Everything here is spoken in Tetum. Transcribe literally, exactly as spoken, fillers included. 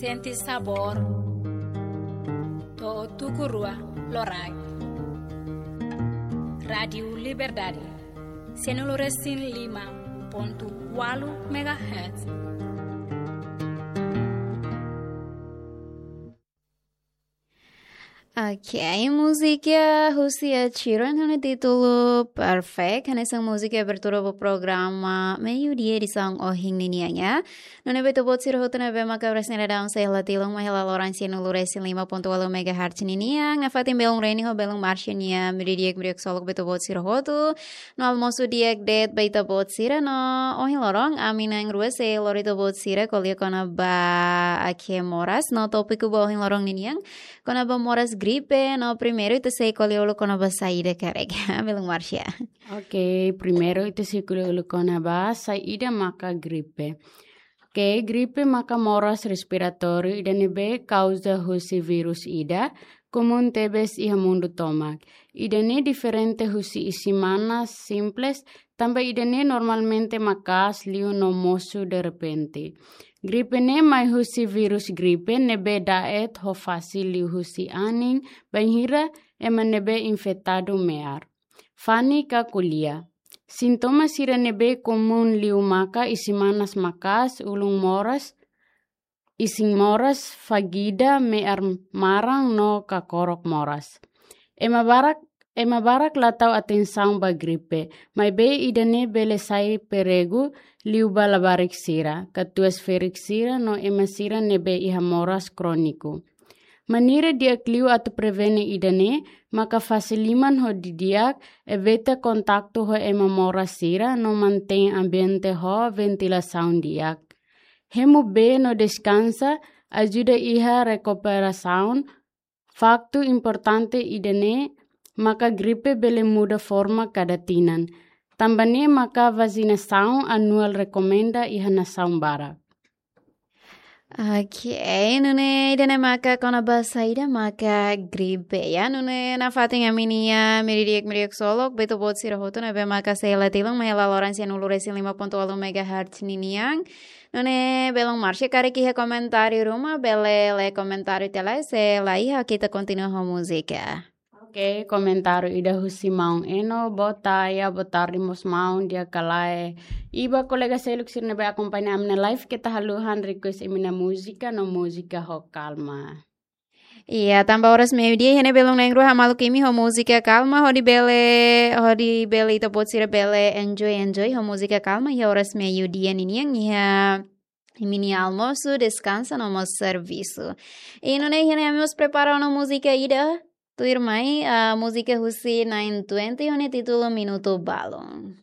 Sente sabór to'o tuku rua loraik. Rádiu Liberdade, sanulu-resin-lima pontu ualu megahertz. Oke, múzika husi Ed Sheeran ho títulu Perfect, hanesan múzika abertura ba programa Meiudia edisaun ohin ninian. Nune'e ba ita-boot sira hotu ne'ebé maka presta atensaun iha hela tilun mai hela loron sanulu-resin-lima pontu ualu megahertz ninian, nafatin belun Reni ho belun Marcia nia Meiudia di'ak, Meiudia di'ak ksolok ba ita-boot sira hotu. No almosu di'ak de'it ba ita-boot sira no ohin loron ami na'in-rua sei lori ita-boot sira ko'alia kona-ba ake moras no tópiku ba ohin loron ninian kona-ba moras gripe no primeiru ita sei ko'alia uluk kona-ba saida karik. Belun Marcia. Oke, primeiru ita sei ko'alia uluk kona-ba saida maka gripe. Oke, gripe maka moras respiratóriu ida ne'ebé kauza husi vírus ida, komún tebes iha mundu tomak. Ida-ne'e diferente husi isin-manas simples, tanba ida-ne'e normalmente maka'as liu no mosu derrepente. Gripe ne'e mai husi vírus gripe ne'ebé da'et ho fasil liuhusi anin, bainhira ema ne'ebé infetadu me'ar. Fani ka ko'alia. Sintoma sira ne'ebé komún liu maka isin-manas maka'as, ulun moras, isin moras, fagida, me'ar maran no kakorok moras. Ema barak, ema barak la tau atensaun ba gripe, maibé ida-ne'e bele sai perigu liu ba labarik sira, katuas-ferik sira no ema sira ne'ebé iha moras króniku. Maneira di'ak liu atu prevene ida-ne'e maka fase liman ho didi'ak, evita kontaktu ho ema moras sira no mantein ambiente ho ventilasaun di'ak. Hemu bee no deskansa ajuda iha rekuperasaun. Faktu importante ida-ne'e maka gripe bele muda forma kada tinan. Tanba ne'e maka vasinasaun anuál rekomenda iha nasaun barak. Oke, nune'e ida-ne'e maka kona-ba saida maka gripe, ya. Nune'e nafatin ami-nia Meiudia di'ak, Meiudia di'ak ksolok ba ita-boot sira hotu ne'ebé maka sei hela tilun mai hela loron sanulu-resin-lima pontu ualu megahertz ninian. Nune'e belun Marcia, karik iha komentáriu ruma, bele lee komentáriu tiha lai, se la iha ita kontinua ho múzika. Oke, komentáriu ida husi maun Eno, boa tarde, boa tarde mós maun, di'ak ka lae. I ba kolega seluk sira ne'ebé akompaña ami-nia live, keta haluha request imi-nia múzika no múzika ho kalma. Iya, tanba oras meiudia, iha ne'e belun na'in-rua hamaluk imi ho múzika kalma, hodi bele, hodi bele ita-boot sira bele enjoy, enjoy ho múzika kalma, iha oras meiudia ninian, iha imi-nia almosu, deskansa no mós servisu. I nune'e iha ne'e ami mós prepara ona múzika ida, tuirmai, ah, múzika husi nine twenty ho nia títulu Minutu Balun.